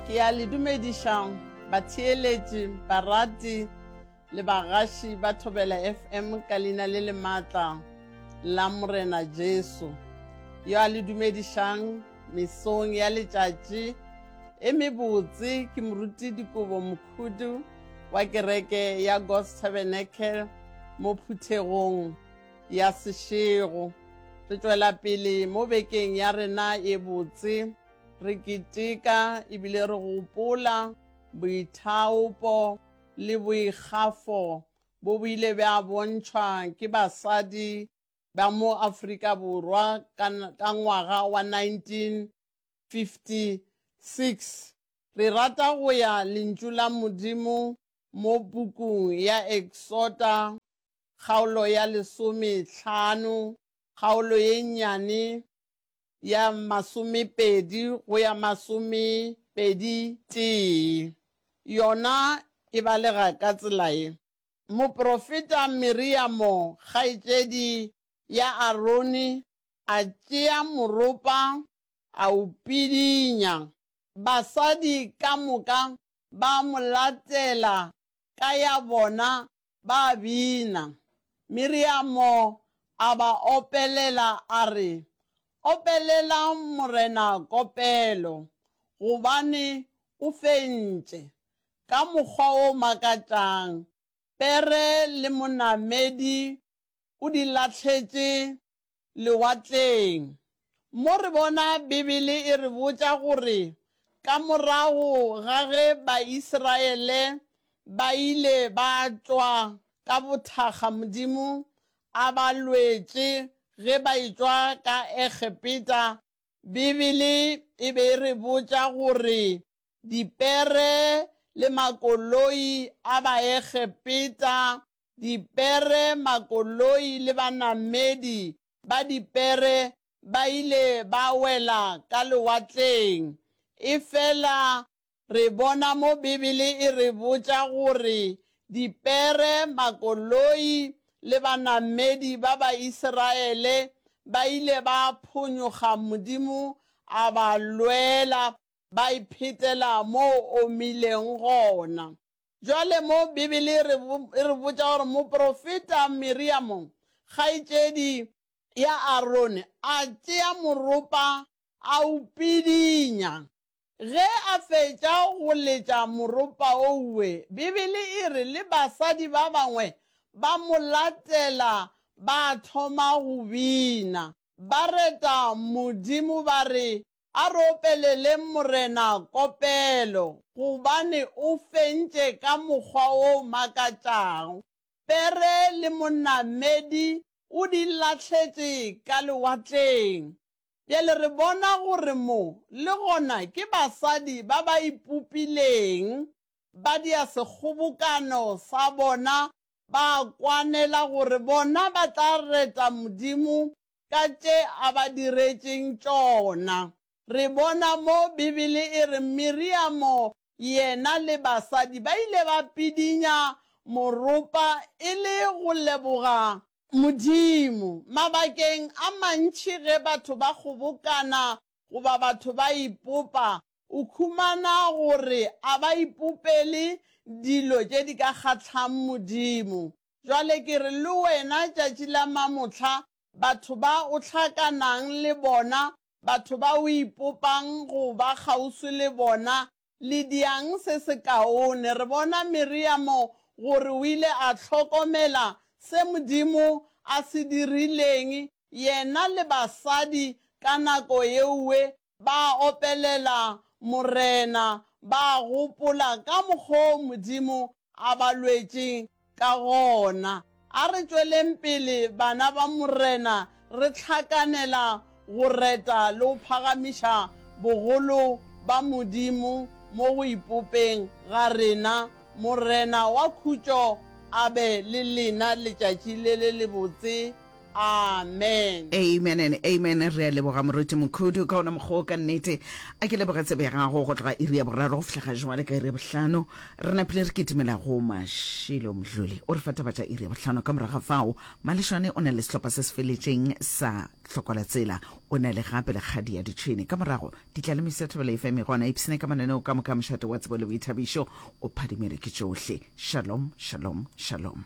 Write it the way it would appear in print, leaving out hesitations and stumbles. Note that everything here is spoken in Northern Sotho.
Ke a le dumediša batheeletši, barati le bagaši ba Thobela FM ka leina le le maatla la Morena Jesu. Yo a le dumedišang mesong ya letšatši e mebotse ke Moruti Dikobo Mokhudu wa kereke ya God's Tabernacle mo phuthegong ya Seshego. Re tšwela pele mo bekeng ya rena e botse re keteka ebile re gopola boithaopo le boikgafo bo bo ile bja bontšhwa ke basadi ba mo Afrika Borwa ka, ka ngwaga wa 1956. Re rata go ya Lentšu la Modimo mo pukung ya Eksota kgaolo ya lesomehlano, kgaolo ye nnyane ya masomepedi go ya masomepedi tee. Yona e balega ka tsela ye. Moprofeta Miriamo, kgaetšedi ya Arone, a tšea moropa a o pidinya. Basadi ka moka ba mo latela ka ya bona ba bina. Miriamo a ba opelela a re, Opelelang Morena kopelo, gobane o fentše ka mokgwa o makatšang, pere le monamedi o di lahletše lewatleng. Mo re bona Bibele e re botša gore ka morago ga ge Baisiraele ba ile ba tšwa ka bothakga Modimo a ba lwetše ge ba etšwa ka Egepeta, Bibele e be e re botša gore dipere le makoloi a Baegepeta Dipere, makoloi le banamedi ba dipere ba ile ba wela ka lewatleng. Efela re bona mo Bibele e re botša gore dipere, makoloi le banamedi ba Baisiraele ba ile ba phonyokga Modimo a ba lwela ba iphetela mo omileng gona. Bjale mo Bibele e re, e re botša gore moprofeta Miriamo, kgaetšedi ya Arone, a tšea moropa a o pidinya. Ge a fetša go letša moropa ouwe, Bibele e re le basadi ba bangwe ba mo latela ba thoma go bina. Ba reta Modimo ba re, A re opeleleng Morena kopelo, gobane o fentše ka mokgwa o makatšago. Pere le monamedi o di lahletše ka lewatleng. Bjale re bona gore mo le gona ke basadi ba ba ipopileng, ba dia sekgobokano sa bona, ba kwanela gore bona ba tla reta Modimo ka tše a ba diretšeng tšona. Re bona mo Bibele e re Miriamo yena le basadi ba ile ba pidinya moropa e le go leboga Modimo. Mabakeng a mantši ge batho ba kgobokana goba batho ba ipopa, o khumana gore a ba ipopele dilo tše di ka kgahlang Modimo. Jwale ke re le wena tšatši la mamohla, batho ba o hlakanang le bona, batho ba o ipopang go ba kgauswi le bona, le diang se sekaone. Re bona Miriamo gore o ile a hlokomela se Modimo a se dirileng, yena le basadi ka nako yeuwe Ba opelela Morena, ba gopola ka mokgo Modimo a ba lwetšeng ka gona. A re tšweleng pele, bana ba Morena, re hlakanela go reta le go phagamiša bogolo ba Modimo mo go ipopeng ga rena. Morena wa khutšo a be le lena letšatši le le lebotse. Amen. Amen and amen. Re a leboga Moruti Mokhudu ka ona mokgwa o ka nnete. A ke leboge tsebe ya gago go tloga iri ya boraro go fihla ga jwale ka iri ya bohlano. Re napile re kitimela go Mashilo Mdluli. O re fa taba tša iri ya bohlano. Ka morago ga fao, Malešwane o na le sehlopha se se feletšeng sa Hlokola Tsela. O na le gape le kgadi ya ditšhwene. Ka morago, ditlalemiso ya Thobela FM e gona. Ipshine ka mananeo ka moka a mošate wa tsebo le boithabišo. O phadimele ke tšohle. Shalom, shalom, shalom.